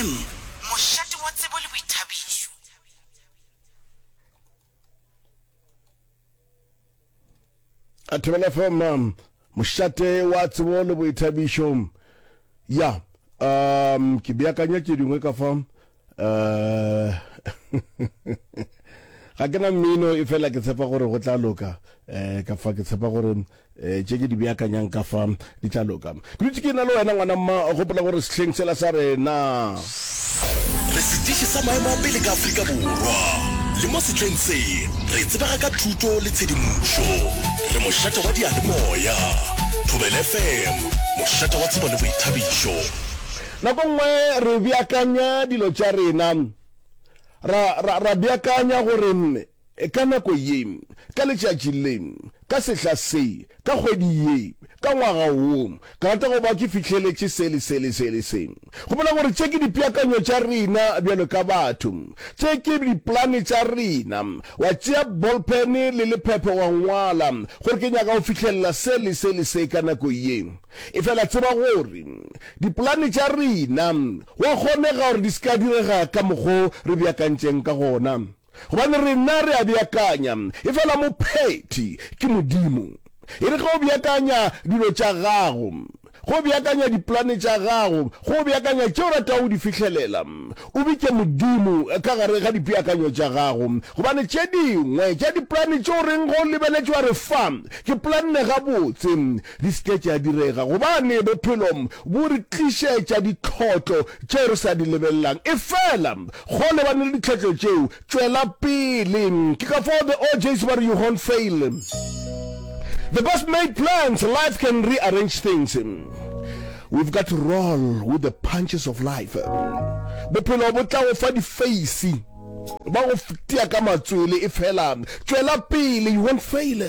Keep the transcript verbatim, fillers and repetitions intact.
F M, mošate wa tsebo le boithabišo. Thobela F M, mošate wa tsebo le boithabišo. Ya, um ke beakanya tše dingwe ka fa. Uh, ga ke na mmino, e fela ke tshepa gore go tla loka. um ka fa ke tshepa gore um tše ke di beakanyang ka fa di tla loka. Ke dutse ke na le wena, ngwana mma. Gopola gore sehleng sela sa rena Re setiši sa maemo a pele ka Afrika Borwa, le mo sehleng se re tsebega ka thuto le tshedimošo. Re mošate wa diyalemoya. Thobela F M, mošate wa tsebo le boithabišo. Nako nngwe re beakanya dilo tša rena, ra, ra, ra beakanya gore ka nako ye, ka letšatši le, ka sehla se, ka kgwedi ye, ka ngwaga wo, ke rata go ba ke fihleletše se le se le se le se. Gopola gore tše ke dipeakanyo tša rena bjalo ka batho, tše ke dipolane tša rena. Wa tšea ballpen le lephephe wa ngwala gore ke nyaka go fihlelela se le se le se ka nako ye. Efela tseba gore dipolane tša rena go a kgonega gore di se ka direga ka mokgo re beakantšeng ka gona. Gobane rena re a beakanya, efela mophethi ke Modimo. E re ge o beakanya dilo tša gago, ge o beakanya dipolane tša gago, ge o beakanya tše o ratago go di fihlelela, o bitše Modimo ka gare ga dipeakanyo tša gago. Gobane tše dingwe tša dipolane tše o reng ge o lebeletše wa re, Fa, ke polanne gabotse, di se ke tša direga. Gobane bophelo bo re tlišetša ditlhotlo tšeo re sa di lebelelang. Efela go lebane le ditlhotlo tšeo, tšwela pele. Ke ka fao the O Js ba re, "You won't fail." The best made plans, life can rearrange things. We've got to roll with the punches of life. Bophelo bo tla go fa difeisi, ba go tia ka matswele, e fela tšwela pele, you won't fail.